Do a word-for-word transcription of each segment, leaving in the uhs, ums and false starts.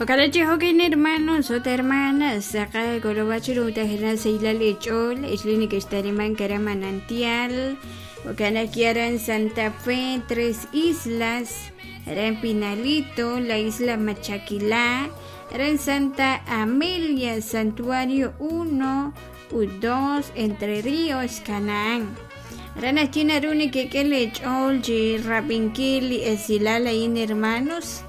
Ojalá chihokin hermanos o hermanas saca golobachiru tajena seilali chol ishlini que estariman kara manantial Ocana en Santa Fe, Tres Islas, era en Pinalito, la isla Machaquilá, era en Santa Amelia, Santuario uno u dos, Entre Ríos, Canaán. Rana China Runi que que le cholchi Rapinkili Esilala in hermanos,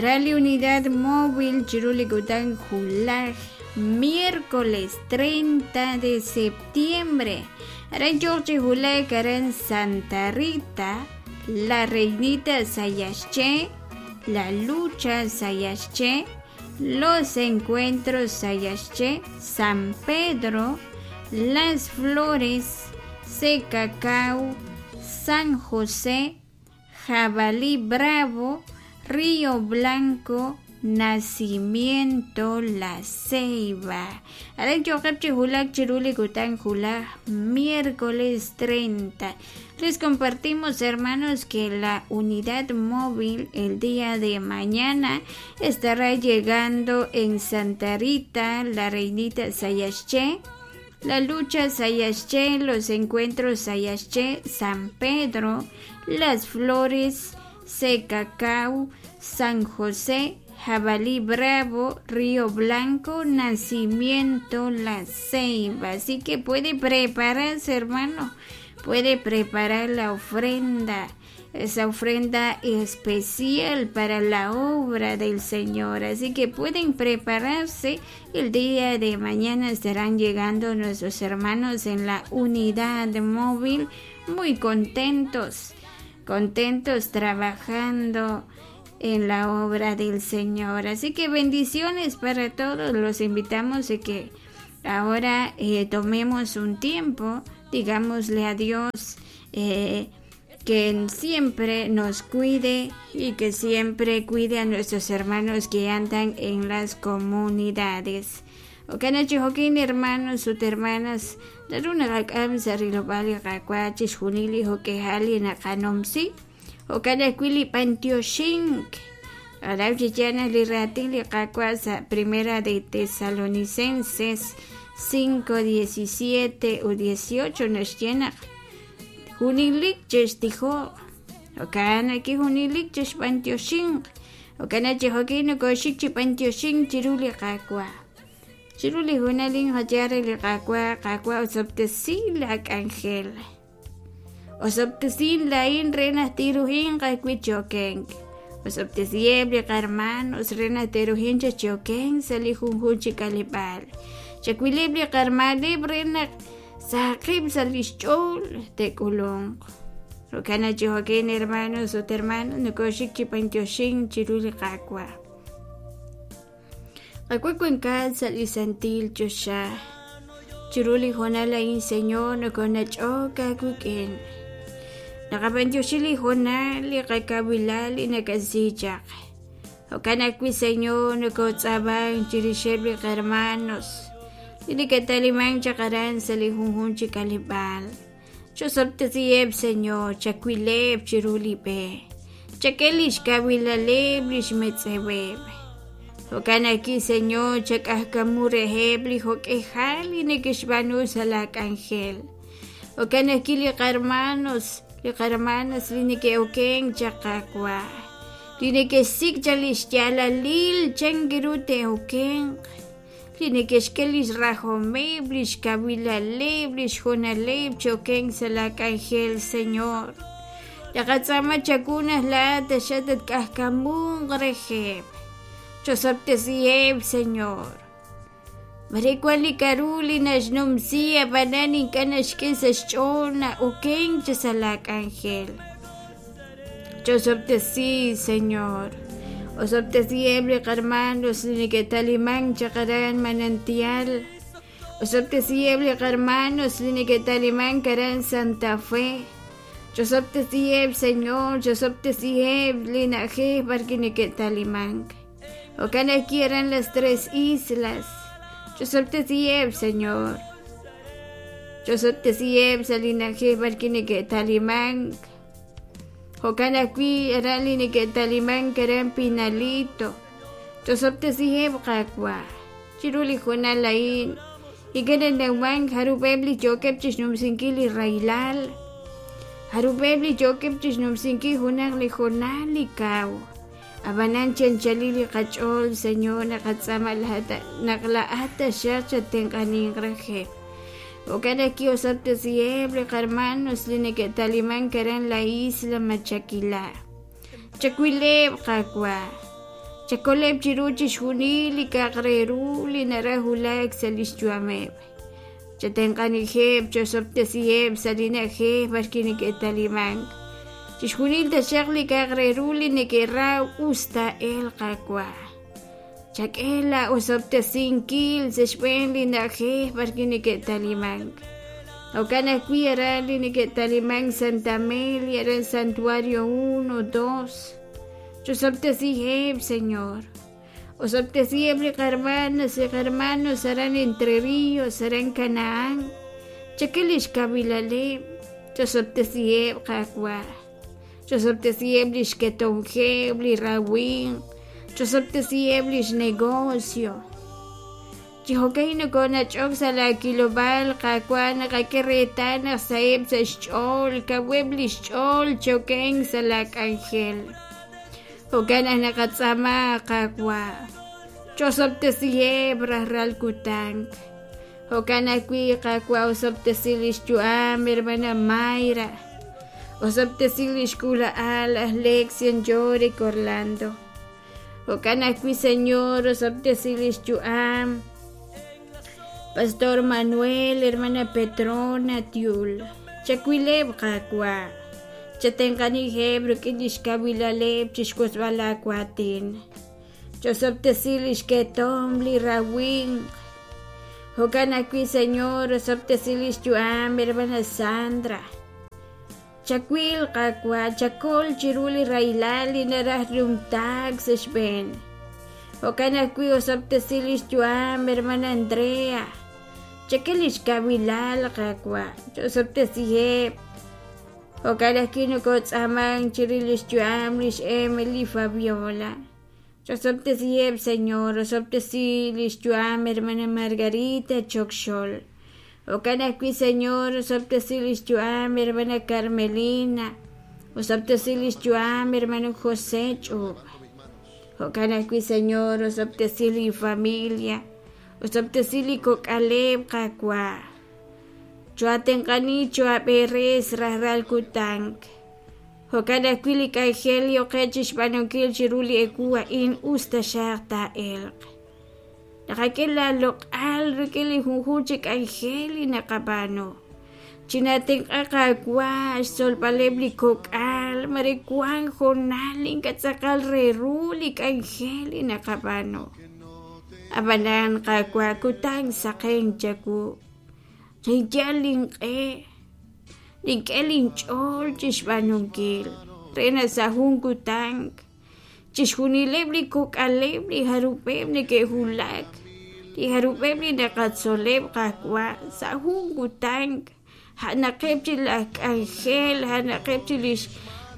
Rally Unidad Móvil Chiruli Gután Julaj, miércoles treinta de septiembre. Aran George Julek, Aran Santa Rita, La Reinita Sayasche, La Lucha Sayasche, Los Encuentros Sayasche, San Pedro, Las Flores, Secacao, San José, Jabalí Bravo, Río Blanco, Nacimiento La Ceiba. Aran Chokapchi Julak Chiruli Gután Julak, miércoles treinta. Les compartimos, hermanos, que la unidad móvil el día de mañana estará llegando en Santa Rita, La Reinita Sayasche, La Lucha Sayasche, Los Encuentros Sayasche, San Pedro, Las Flores, Secacao, San José, Jabalí Bravo, Río Blanco, Nacimiento La Ceiba. Así que puede prepararse, hermano, puede preparar la ofrenda, esa ofrenda especial para la obra del Señor. Así que pueden prepararse. El día de mañana estarán llegando nuestros hermanos en la unidad móvil, muy contentos, contentos trabajando en la obra del Señor. Así que bendiciones para todos. Los invitamos a que ahora eh, tomemos un tiempo, digámosle a Dios eh, que siempre nos cuide y que siempre cuide a nuestros hermanos que andan en las comunidades. Okanachi hokin hermanos ut hermanas, daruna rakam sarilobali rakwachis junili hokehali nakanomsi. Okana kuili pantioshink. Arauchichana liratin liqakwasa primera de Tesalonicenses cinco diecisiete u dieciocho nos llena. Junilik chestijo. Okana ki junilik chespantioshink. Okana chihokino koshik chipantioshink chiruli qakwa. Chiruli junalin hachare liqakwa qakwa osoptesilak ángel. Osoptesil lain renas tirujin qakuichokenk. Osoptesieble qarmanos renas tirujin chachoken salijunjun chikalipal. Chacuilible qarmalib renak saqib salischol tekulong. Rokana chihoken hermanos o hermanos nokoshik chipantoshin chiruli qakwa. Qakuakuenkal salisantil chosha. Chiruli jonalain señor nokonachoka kuken. Nakapantiosili jonali kakawilali nakasichak. Okanakwi señor nokotzabang chirishebli hermanos. Inikataliman chakaran salihunjun chikalibal. Chosoltesieb señor chakuileb chirulipe. Chakelish kawilaleb lishmetzebeb. Okanaki señor chakahkamureheb lihokehali nikishbanu salak ángel. Okanaki liqarmanos liqarmanos linikeoken chakakwa. Linikesik chalishyalalil changirute oken. Linikeshkelis rajomeb lishkawilaleb lishjonaleb choken salak ángel señor. Yakatzama chakunas la tashatat kahkamun rejeb. Chosoptesieb, Señor. Maricuali karuli nashnumsia banani kanashkesashchona oken chasalak ángel. Chosoptesi, Señor. Osoptesieble hermanos liniketaliman chakaran manantial. Osoptesieble hermanos liniketaliman karan Santa Fe. Chosoptesieb, Señor. Chosoptesieb linaje barkiniketaliman. Ocana quieran las tres islas. Chosoptesieb, Señor. Chosoptesieb, salinaje barkiniketaliman. Ocana qui eralinikettaliman karan Pinalito. Chosob'tesiheb' Qaawa'. Chiru li hoonal a'in ink'a' nanawman jarub'eb' li yookeb' chixnumsinkil li rahilal, jarub'eb' li yookeb' chixnumsinkil junaq li hoonal li kaw. Ab'anan chanchalil li qach'ool, Señor, naqatz'aama naq laa'at taxaq chatenq'aninq reheb'. Jo'kan naq ki'osob'tesiheb' li qarmanos li neke'talimank aran la isla Machaquilá. Chakwileb' Qaawa'. Chakoleb' chiru chixjunil li k'a'aq re ru li naraj wulak sa' lix yu'ameb'. Chatenq'anijeb', chosob'tesiheb' sa' li na'ajej b'arwi' neke'talimank. Chixjunil taxaq li k'a'aq re ru li neke'raw us taa'elq Qaawa'. Chak'e la osob'tesinkil sa' xb'een li na'ajej b'arwi' neke'talimank. Jo'kan ajwi' aran li neke'talimank Santa Amelia, aran Santuario uno, dos. Chosob'tesiheb', Señor. Osob'tesiheb' li qarmanas li qarmanos aran Entre Ríos, aran Canaán. Chak'e lix kawilaleb'. Chosob'tesiheb' Qaawa'. Chosob'tesiheb' lix ketomjeb', li rawimq. Chosob'tesiheb' lix negocio. Chi jo'kan nokonach'ok sa' la kilob'aal Qaawa' naqak'e reetal naq saheb' sa' xch'ool, kaweb' lix ch'ool choken sa' la k'anjel. Jo'kan naq naqatz'aama Qaawa'. Chosob'tesiheb' rajlal kutan. Jo'kan ajwi' Qaawa' osob'tesi lix yu'am hermana Mayra. Osob'tesi lix k'uula'al aj Lexian Yorick Orlando. Jo'kan ajwi' Señor osob'tesi lix yu'am Pastor Manuel, hermana Petrona Tiul. Chakwileb' Qaawa'. Chatenq'anijeb' rik'in lix kawilaleb' chixk'osb'al laawatin. Chosob'tesi lix ketom li rawimq. Jo'kan ajwi' Señor osob'tesi lix yu'am hermana Sandra. Chakwil Qaawa', chakol chiru li rahilal li naraj numtaak sa' xb'een. Jo'kan ajwi' osob'tesi lix yu'am hermana Andrea. Chak'e lix kawilal Qaawa', chosob'tesiheb'. Jo'kan ajwi' nokotz'aamank chirix lix yu'am lix Emily Fabiola. Chosob'tesiheb', Señor, osob'tesi lix yu'am hermana Margarita Chokxol. Jo'kan ajwi' Señor, osob'tesi lix yu'am hermana Carmelina. Osob'tesi lix yu'am hermano José Ch'ub. Jo'kan ajwi' Señor, osob'tesi li familia. Osob'tesi li kok'aleb' Qaawa'. Choatenq'ani choab'eres rajlal kutan. Jo'kan ajwi' li k'anjel yoqe chixb'aanunkil chiru li ewu a'in us taxaq taa'elq. Naqak'e la loq'al rik'in li junjunq chi k'anjel li naqab'aanu. Chinatenq'a Qaawa' xtzolb'aleb' li kok'al mare wank hoonal ink'a' tz'aqal re ru li k'anjel li naqab'aanu. Ab'anan Qaawa' kutan saqen chawu. Ninyal link'e, nink'e linch'ool chixb'aanunkil re naq sa' jun kutan chixjunileb' li kok'aleb' li jarub'eb' neke'wulak, li jarub'eb' li naqatzoleb' Qaawa' sa' jun kutan ja'naqeb' chi laj k'anjel, ja'naqeb' chi lix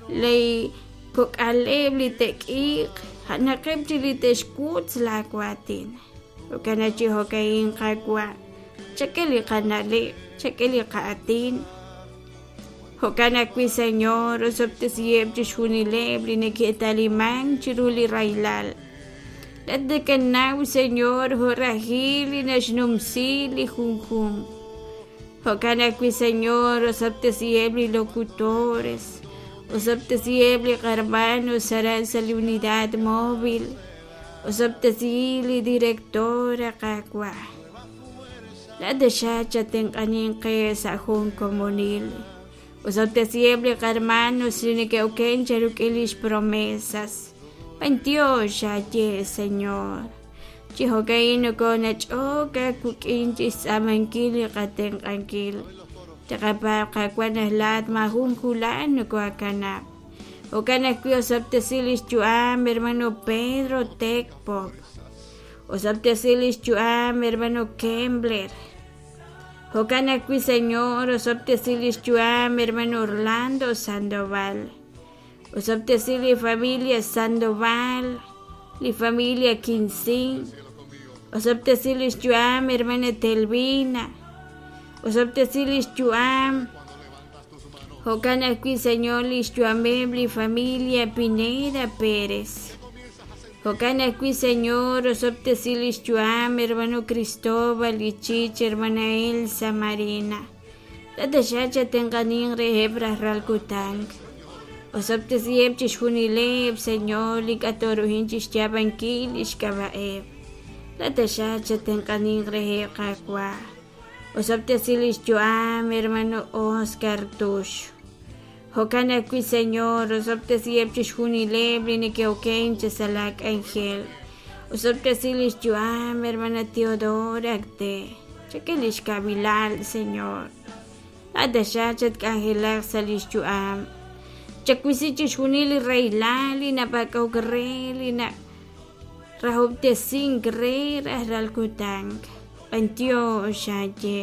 li kok'aleb' li te'k'iiq, ja'naqeb' chi li te'xkutz laawatin. Jo'kan naq chi jo'ka'in Qaawa', chak'e li qana'leb', chak'e li qa'atin. Jo'kan ajwi' Señor, osob'tesiheb' chixjunileb' li neke'talimank chiru li rahilal. Laat nakanaw, Señor, jo' rajil li naxnumsi li junjunq. Jo'kan ajwi' Señor, osob'tesiheb' li locutores, osob'tesiheb' li qarmanos aran sa' li unidad móvil, osob'tesi li directora Qaawa'. Laat taxaq chatenq'aninq qe sa' jun komonil. Osob'tesiheb' li qarmanos li neke'oken cheruk'in lix promesas. B'antiox aye, Señor. Chi jo'ka'in nokonach'ok aawik'in chixtz'aamankil li qatenq'ankil. Taqapaab' Qaawa' naq laat maajun julan nokoakanab'. Jo'kan ajwi' osob'tesi lix yu'am hermano Pedro Tecpop. Osob'tesi lix yu'am hermano Kembler. Jo'kan ajwi' Señor, osob'tesi lix yu'am hermano Orlando Sandoval. Osob'tesi li familia Sandoval. li familia Quinsin osob'tesi lix yu'am hermana Telvina osob'tesi lix yu'am jo'kan ajwi' Señor lix yu'ameb' li familia Pineda Pérez jo'kan ajwi' Señor osob'tesi lix yu'am hermano Cristóbal Ichich hermana Elsa Marina tataxaq chatenq'anin reheb' rajlal kutan osob'tesiheb' chixjunileb' Señor li k'atoruhin chixyaab'ankil lix k'ab'a'eb' tataxaq chatenq'anin reheb' Qaawa' osob'tesi lix yu'am hermano Oscar Tux jo'kan ajwi' Señor osob'tesiheb' chixjunileb' li neke'oken sa' la k'anjel osob'tesi lix yu'am hermana Teodora Acte chak'e lix kawiilal Señor tataxaq chatk'anjelaq sa' lix yu'am chawisi chixjunil li rahilal li napak'ok re li na rahob'tesink re rajlal kutan b'antiox xaye.